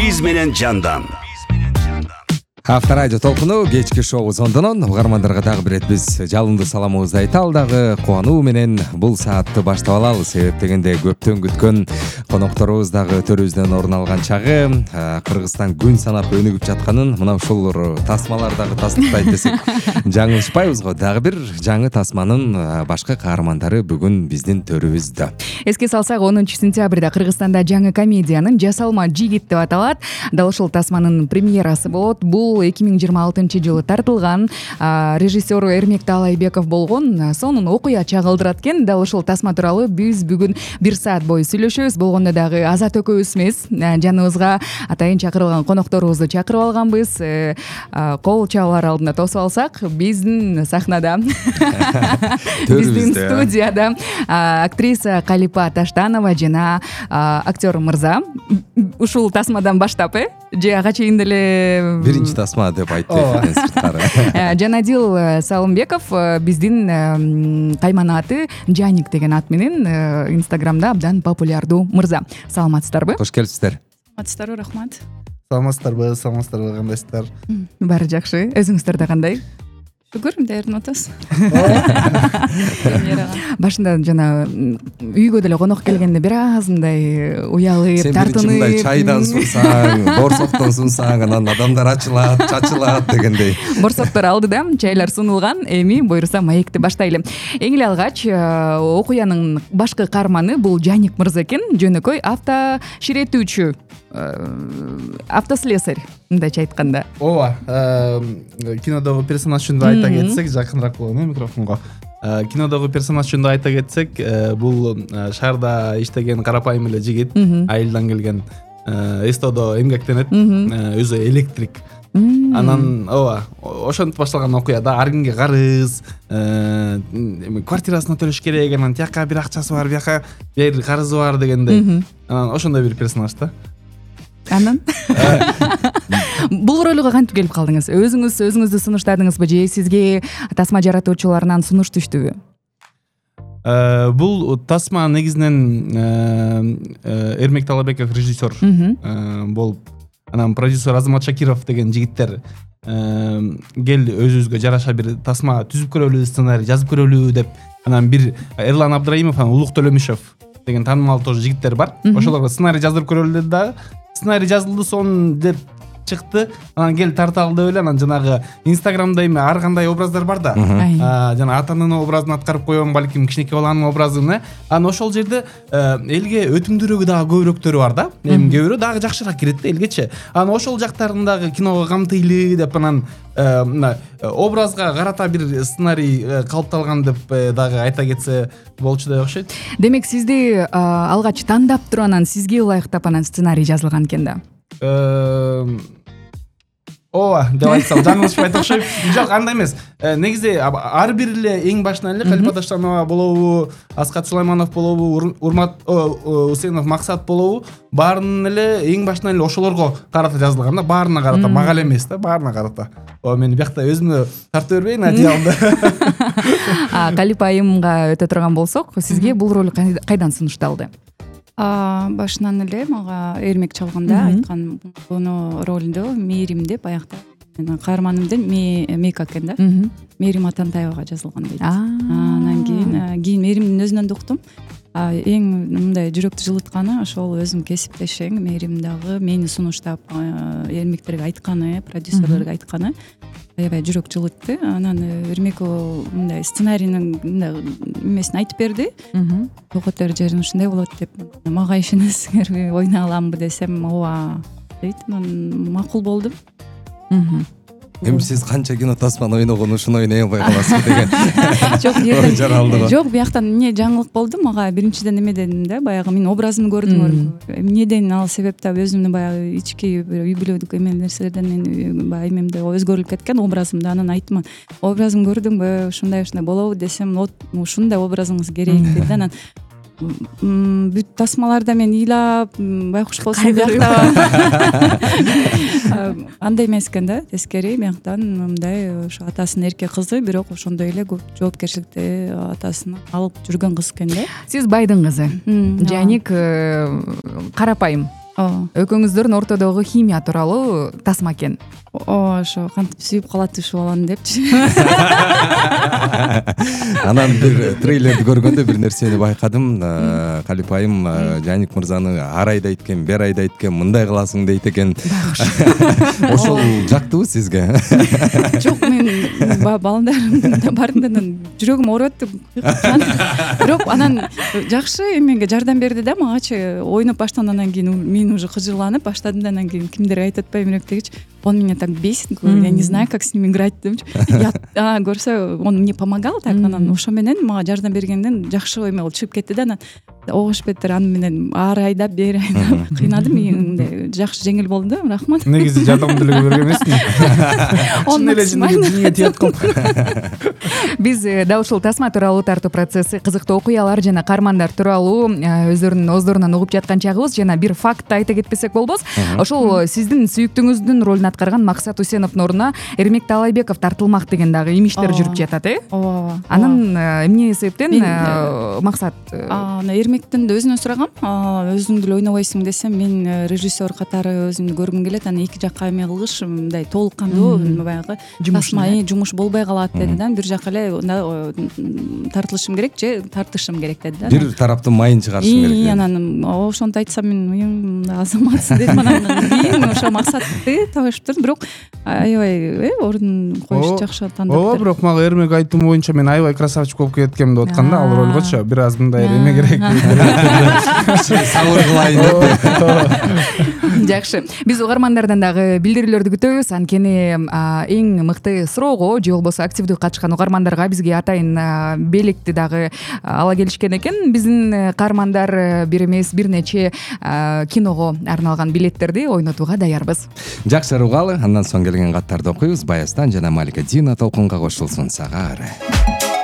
биз менен жандан. Авторадио толкуну кечки шоу Зондонон угармандарга дагы бир биз жалындуу саламыбызды айталы дагы кубануу менен бул саатты баштап алалы. Себеп дегенде көптөн күткөн конокторубуз дагы төрүбүздөн орун алган чагы, Кыргызстан күн санап өнүгүп жатканын мына ушул тасмалар дагы тастыктайт десек жаңылышпайбыз го. Дагы бир жаңы тасманын башкы каармандары бүгүн биздин төрүбүздө. Эске салсак, 10-сентябрда Кыргызстанда жаңы комедиянын «Жасалма жигит» деп аталат. Дал ушул тасманын премьерасы болот. Бул 2026-жылы тартылган, режиссер Эрмек Таалайбеков болгон. Сонун окуя чагылдырат экен. Дал ушул тасма тууралуу биз бүгүн 1 саат бою сүйлөшөбүз. Болгондо дагы Азат экөөбүз эмес, жаныбызга атайын чакырылган конокторубузду чакырып алганбыз. Кол чабуулар алдында тосуп алсак, биздин сахнада, биздин студияда актриса Калипа Таштанова жана актер мырза. Ушул тасмадан баштап, же ага чейин деле биринчи тасма деп айтты сырткары. Жанадил Салымбеков биздин кайманаты Жаник деген ат менен Инстаграмда абдан популярдуу мырза. Саламатсыздарбы? Кош келипсиздер. Саламатсыздарбы, рахмат. Саламатсыздарбы, кандайсыздар? Баары жакшы. Өзүңүздөрдө кандай? Шүгүр, даярдын атабыз. Башында жана үйгө деле конок келгенде бир аз мындай уялып, тартынып, сен мындай чайдан сунсаң, борсоктон сунсаң, анан адамдар ачылат, чачылат дегендей. Борсоктор алдыда чайлар сунулган. Эми буюрса маекти баштайлы. Эң эле алгач окуянын башкы каарманы бул Жаник мырза экен. Жөнөкөй автоширетүүчү, автослесарь, мындайча айтканда. Ооба, кинодогу персонаж жөнүндө айта кетсек, жакыныраак болгон микрофонго. Кинодогу персонаж жөнүндө айта кетсек, бул шаарда иштеген карапайым эле жигит, айылдан келген, СТОдо эмгектенет, өзү электрик. Анан ооба, ошентип башталган окуя да, ар кимге карыз, квартирасына төлөш керек, анан тияка бир акчасы бар, бияка бир карызы бар дегендей. Анан ошондой бир персонаж да. Анан бул ролго кантип келип калдыңыз? Өзүңүздү сунуштадыңызбы же сизге тасма жаратуучуларынан сунуш түштүбү? Бул тасма негизинен Эрмек Таалайбеков режиссер болуп, анан продюсер Азамат Шакиров деген жигиттер кел өзүбүзгө жараша бир тасма түзүп көрөлү, сценарий жазып көрөлү деп, анан бир Эрлан Абдраимов, анан Улук Төлөмүшев деген таанымал тоже жигиттер бар. Ошолорго сценарий жаздырып көрөлү да. Сценарий жазылды сон деп чыкты. Анан кел тарталы деп эле, анан жанагы Инстаграмда эми ар кандай образдар бар да. Жана ата-ананын образын аткарып коём, балким кичинекей баланын образын. Анан ошол жерде элге өтүмдүүрөөгү дагы көбүрөөктөрү бар да. Эми кээ бирөө дагы жакшыраак кирет да элгечи. Анан ошол жактарын дагы киного камтыйлы деп, анан образга карата бир сценарий калыпталган деп дагы айта кетсе болчудай окшойт. Демек сизди алгач тандап туруп анан сизге ылайыктап анан сценарий жазылган экен да. Ооба, деп айтсам жаңылышпайт окшойт. Жок, андай эмес. Негизи ар бир эле эң башынан эле Калипа Таштанова болобу, Аскат Сулайманов болобу, Урмат Усенов Максат болобу, баарынын эле эң башынан эле ошолорго карата жазылган да, баарына карата, мага эле эмес да, баарына карата. Мен биякта өзүмө тартып бербейин одеялымды. Калипа айымга өтө турган болсок, сизге бул роль кайдан сунушталды? Башынан эле мага Эрмек чалганда айткан, буну ролду Мээрим деп аякта менин каарманымдын Мейка экен да. Мээрим Атантаевага жазылган дейт. Анан кийин Мээримдин өзүнөн да уктум. Эң мындай жүрөктү жылытканы ошол өзүм кесиптешең Мээрим дагы мени сунуштап Эрмектерге айтканы, продюсерлерге айтканы аябай жүрөк жылытты. Анан Эрмек мындай сценарийнин мындай эмесин айтып берди. Токотор жерин ушундай болот деп, мага ишенесиңерби, ойнай аламбы десем, ооба дейт. Анан макул болдум. Эми сиз канча кино тасманы ойногон ушуну ойной албай каласыз деген. Жок, бияктан эмне жаңылык болду мага. Биринчиден эме дедим да, баягы мен образымды көрдүм. Эмнеден ал себептен өзүмдүн баягы ички үй бүлөлүк эме нерселерден баягы эмемде өзгөрүлүп кеткен образымды. Анан айттым, образым көрдүңбү, ушундай болобу десем, ушундай образыңыз керек деди. Анан бүт тасмаларда мен ыйлап байкуш болсом биякта андай эмес экен да, тескери бияктан мындай ошо атасынын эрке кызы, бирок ошондой эле көп жоопкерчиликти атасына алып жүргөн кыз экен да. Сиз байдын кызы, Жаник карапайым. ооба экөөңүздөрдүн ортодогу химия тууралуу тасма экен. ооба ошо кантип сүйүп калат ушул баланы депчи. Анан бир трейлерди көргөндө бир нерсени байкадым. Калип айым Жаник мырзаны ар айда экен, бер айда экен, мындай кыласың дейт экен. Ошол жактыбы сизге? Жок, мен балдарымдын баарында жүрөгүм ооруп атты. Бирок анан жакшы эмеге жардам берди да магачы. Ойноп баштагандан кийин мен уже кыжырланып баштадым да анан кийин кимдер айтып атпайбы эмеректегичи. Он меня так бесит, я не знаю, как с ним играть депчи. Я көрсө, он мне помогал так, анан ошо менен мага жардам бергенден жакшы эме болуп чыгып кетти да. Анан огуш бетер аны менен ар айдап бери айдап кыйнадым. Менде жакшы жеңил болду. Рахмат. Негизи жардам деле берген эмесмин. Чын эле жеңине тиет калып. Биз дал ушул тасма тууралуу тартуу процесси, кызыктуу окуялар жана каармандар тууралуу өздөрүнүн ооздорунан угуп жаткан чагыбыз. Жана бир факт айта кетпесек болбос. Ошол сиздин сүйүктүүңүздүн ролун аткарган Максат Усеновдун ордуна Эрмек Таалайбеков тартылмак деген дагы имиштер жүрүп жатат, ооба. Анан эмне себептен Максат? Эрмектен да өзүнөн сурагам. Өзүң деле ойнобойсуң десем, мен режиссер катары өзүмдү көргүм келет. Анан эки жакка эме кылгыч, мындай толук кандуу баягы тасма жумуш болбой калат деди да. Бир жака эле тартылышым керек же тартышым керек деди да. Бир тараптын майын чыгарышым керек. Анан ошонтип айтсам мен азаматсың дедим. Анан кийин ошо Максатты табышып турдум. Бирок аябай ордун коюш жакшы тандап. Ооба, бирок мага Эрмек айтуум боюнча мен аябай красавчик болуп кеткем деп атканда, ал ролгочу бир аз мындай эме керек. Сабыр кылайын деп. Жакшы. Биз угармандардан дагы билдирүүлөрдү күтөбүз. Анткени эң мыкты суроого же болбосо активдүү катышкан угармандарга бизге атайын белекти дагы ала келишкен экен. Биздин каармандар бир эмес бир нече киного арналган билеттерди ойнотууга даярбыз. Жакшы угалы, андан соң келген каттарды окуйбуз. Баястан жана Малика Дина толкунга кошулсун. Сага ары.